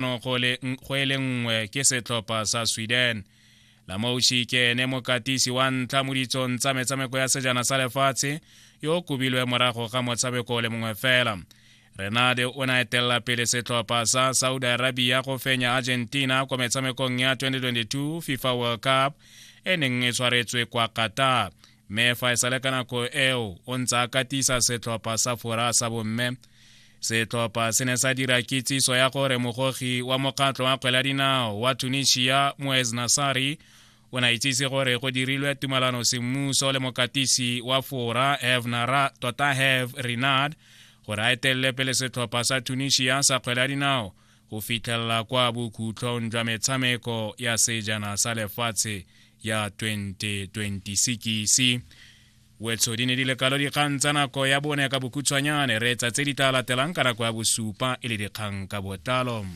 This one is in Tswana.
Go e le nngwe ke setlhopha sa Sweden. Lamouchi ke ene mokatisi wa ntlha mo ditsong tsa metshameko ya sejana sa lefatshe yo o kobilwe morago ga motshameko o le mongwe fela. Renade o ne a etelela pele setlhopha sa Saudi Arabia go fenya Argentina kwa metshamekong ya 2022 FIFA World Cup e neng e tshwaretswe kwa Qatar. Mme fa e sale ka nako eo o ntse a katisa setlhopha sa Fora sa bomme. Setlhopha se ne sa dira kitsiso ya gore mogogi wa mokgatlho wa kgwele ya dinao wa Tunisia Moez Nassari o ne a itsise gore go dirilwe tumalano semmuso le mokatisi wa Fora Herve Nara, tota Herve Renard gore a etelele pele setlhopha sa Tunisia sa kgwele ya dinao go fitlhelela kwa bokhutlhong jwa metshameko ya sejana sa lefatshe ya 2026. Wetsho di ne di le kalo dikgang tsa nako ya bone ka bokhutshwanyane. Reetsa tse di tla latelang ka nako ya bosupa e le dikgang ka botlalo.